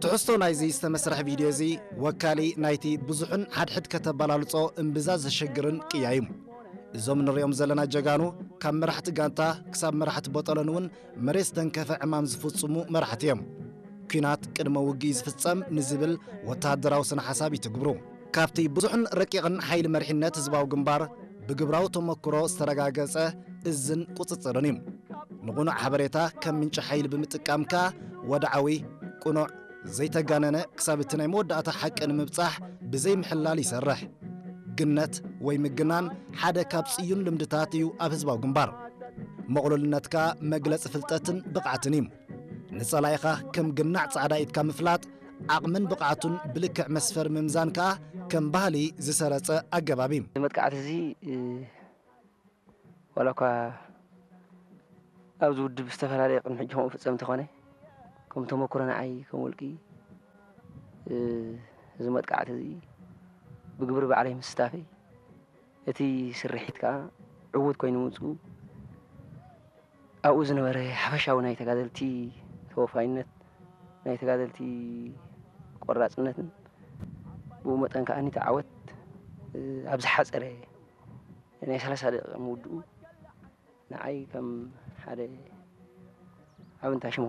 ትሕዝቶ ናይዚ ዝተመስርሐ ቪድዮ እዚ ወካሊ ናይቲ ብዙሕን ሓድሕድ ከተበላልጾ እምብዛ ዘሸግርን ቅያ እዩ። እዞም ንሪኦም ዘለና ጀጋኑ ካብ መራሕቲ ጋንታ ክሳብ መራሕቲ ቦጠሎን እውን መሬት ዝተንከፈ ዕማም ዝፍጽሙ መራሕቲ እዮም። ኲናት ቅድመ ውግእ ዝፍጸም ንዝብል ወተሃደራዊ ስነ ሓሳብ ይትግብሩ። ካብቲ ብዙሕን ረቂቕን ሓይሊ መሪሕነት ህዝባዊ ግንባር ብግብራዊ ተመክሮ ዝተረጋገጸ እዝን ቁጽጽርን እዩ። ንቕኑዕ ሓበሬታ ከም ምንጪ ሓይሊ ብምጥቃም ከኣ ወድዓዊ፣ ቅኑዕ፣ ዘይተጋነነ ክሳብ እቲ ናይ መወዳእታ ሓቂ ንምብጻሕ ብዘይምሕላል ይሰርሕ። ግነት ወይ ምግናን ሓደ ካብ ጽዩን ልምድታት እዩ ኣብ ህዝባዊ ግንባር። ምቕሉልነት ከኣ መግለጺ ፍልጠትን ብቕዓትን እዩ። ንጸላኢኻ ከም ግናዕ ጻዕዳ ኢድካ ምፍላጥ ዓቕምን ብቕዓቱን ብልክዕ መስፈሪ ምምዛን ከኣ ከም ባህሊ ዝሰረጸ ኣገባብ እዩ። እዚ መጥቃዕቲ እዚ፣ እ፣ ዋላ እኳ ኣብዚ ውድብ ዝተፈላለየ ቅድሚ ሕጂ ከምኡ ፍጸም እንተኾነ፣ ከም ተመክሮ ንዓይ ከም ውልቂ፣ እ፣ እዚ መጥቃዕቲ እዚ ብግብሪ ባዕለይ ምስታፈይ፣ እቲ ስርሒት ከኣ ዕዉት ኮይኑ ምምጽኡ፣ ኣብኡ ዝነበረ ሓፈሻዊ ናይ ተጋደልቲ ተወፋይነት፣ ናይ ተጋደልቲ ቆራጽነትን ብኡ መጠን ከኣ እቲ ዓወት፣ እ፣ ኣብ ዝሓጸረ ናይ ሰላሳ ደቂቕ ምውድኡ ንዓይ ከም ሓደ ዓቢ እንታሽም